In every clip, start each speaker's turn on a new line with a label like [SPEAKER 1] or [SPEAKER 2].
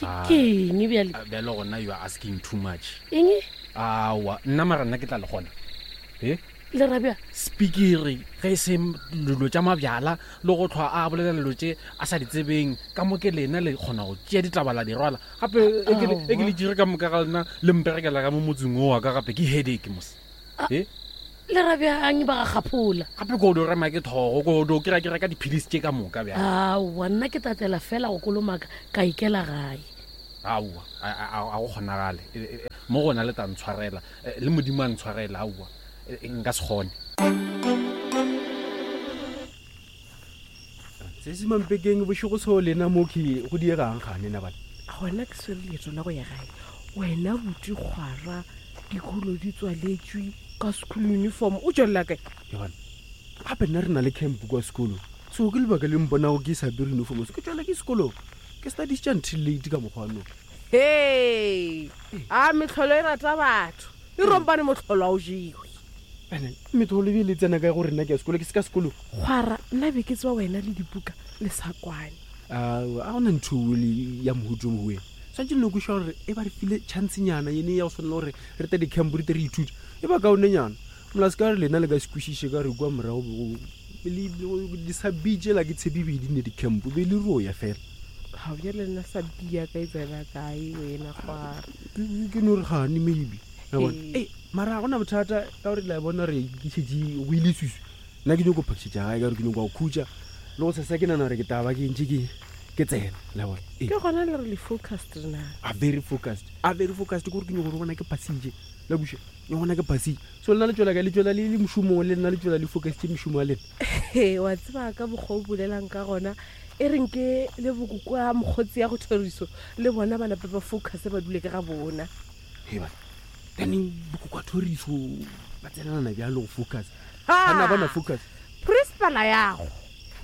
[SPEAKER 1] Ke eng bjale?
[SPEAKER 2] Ah, bjale gona you are asking too much.
[SPEAKER 1] Eng?
[SPEAKER 2] Aowa, nna mara nna ke tla le gona. E?
[SPEAKER 1] Le rabja?
[SPEAKER 2] Spikiri ge e se dilo tša mabjala le go tlhwa a bolela dilo tše a sa di tsebeng ka mo ke lena le kgona go tšea ditaba la di rwala gape e ke le- e ke le tšere ka moka ga lena le mperekela ka mo motseng o wa ka gape ke headache mos e
[SPEAKER 1] Le rabjang ba ga kgaphola?
[SPEAKER 2] Gape ko do rema ke thogo ko do kry-a ke reka diphilisi tše ka moka bjale.
[SPEAKER 1] Aowa, nna ke tatela fela go kolomaka ka ikela gae.
[SPEAKER 2] Aowa, a go kgonagale. E, e, e, mo gona le tla ntshwarela, le Modimo a ntshwarela. Aowa, nka se kgone.
[SPEAKER 3] Se se mampekeng bošego so lena mo ke go diegang gane na bana.
[SPEAKER 4] Gona ke swere leeto la go ya gae. Wena buti kgwara dikolo di tswaletšwe ka school uniform o tšwelela kae?
[SPEAKER 3] Ya bana. Gape nna re na le camp kwa sekolong. So ke lebaka le mponago ke sa apere uniform so ke tšwela ke sekolong. Ke studies tša until late ka mokgwa no.
[SPEAKER 4] Hei! A mehlolo e rata batho. E rompane mohlolo a o jewe.
[SPEAKER 3] Ene metlholo e be le tsena kae gore nna ke ya sekolo ke se ka sekolong?
[SPEAKER 4] Kgwara, nna be ke tseba wena le dibuka le sa kwane.
[SPEAKER 3] Aowa, a gona ntho le ya mohuta o mongwe. Swantše le no kweša gore e ba re file chancenyana yene ya go swanela gore re tle di-camp re tle re ithute. E ba kaonenyana. Mola se ka re lena le ka se kwešiše ka re kua morago be go di sa bitšela ke tshepe be di ne di-camp be le roya fela.
[SPEAKER 4] Ga bjale nna sa bia ka e tsena kae wena kgwara?
[SPEAKER 3] Ke no re gane maybe. Ee. Mara ga gona bothata ka gore la bona gore ke šetše go ile swiswi. Nna ke nyoko phakšetša gae ka gore ke nyoko go khutša le go sesa ke nana gore ke taba ke ntše ke ke tsena la bona.
[SPEAKER 4] Ee. Ke gona le re le focused na?
[SPEAKER 3] A very focused. A very focused ke gore ke nyoko gore bona ke phasitše. La buša nyoko bona ke phasitše. So lena le tšwela kae? Le tšwela le le mošomong le nna le tšwela le focusitše mešomo ya lena.
[SPEAKER 4] He, wa tseba ka mokgwa o bolelang ka gona e reng ke le bokoko a mokgotsi ya go thoriso le bona ba nape ba focus ba dule ka ga bona.
[SPEAKER 3] He bana, then bokoko a thoriso ba tsenelana bjalo go focus. Ga na ba na focus.
[SPEAKER 4] Principal yago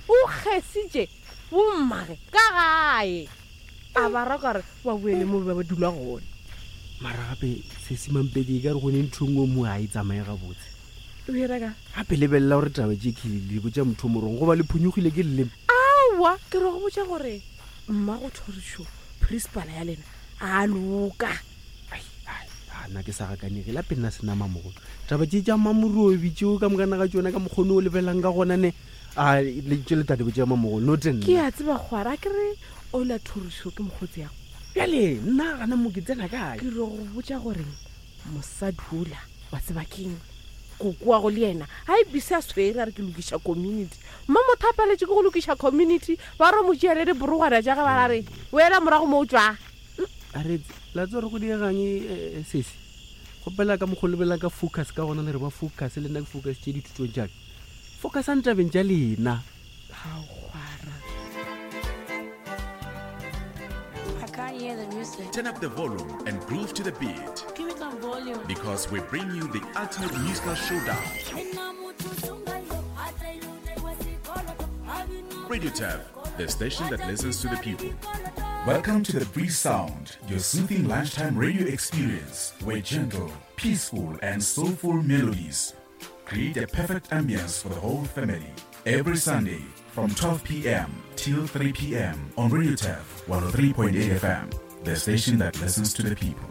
[SPEAKER 4] o kgesitše bommage ka gae a ba ra kare ba boele mo ba dula gona.
[SPEAKER 3] Mara gape sesi Mampedi e ka re go ne ntho e nngwe mo ga e tsamaye gabotse.
[SPEAKER 4] O e reka?
[SPEAKER 3] Gape lebelela gore taba tše ke le botša motho o morong goba le phonyokgile ke leleme.
[SPEAKER 4] Aowa, ke re go botša gore mmago thorišo principal ya lena a loka.
[SPEAKER 3] Ai, ai, a nna ke sa gakanege la pele nna se nama mogolo. Taba tše tša Mamorobi tšeo ka mokana ga tšona ka mokgone o lebelelang ka gona ne a le tše le tate botša mamogolo no te
[SPEAKER 4] Ke a tseba kgwara a ke re ola thorišo ke mokgotsi yago.
[SPEAKER 3] Bjale nna gana mo ke tsena kae?
[SPEAKER 4] Ke re go botša gore mosadi ola wa tseba keng koko wa go le yena a e bise a swere a re ke lokiša community mma motho a paletše ke go lokiša community ba ro mo tšea le diborogwana tša ge ba ra re boela morago mo o tšwa.
[SPEAKER 3] A re la tseba gore go diegang eh, sesi kgopela ka mokgwa lebelang ka focus ka gona le re ba focus le nna ke focus tše dithutong tšaka focusang tabeng tša lena
[SPEAKER 5] Turn up the volume and groove to the beat.
[SPEAKER 1] Give it some volume.
[SPEAKER 5] Because we bring you the ultimate musical showdown. Radio Tab, the station that listens to the people. Welcome to the Breeze Sound, your soothing lunchtime radio experience where gentle, peaceful, and soulful melodies create a perfect ambience for the whole family. Every Sunday from 12 p.m. till 3 p.m. on Radio Taf 103.8 FM, the station that listens to the people.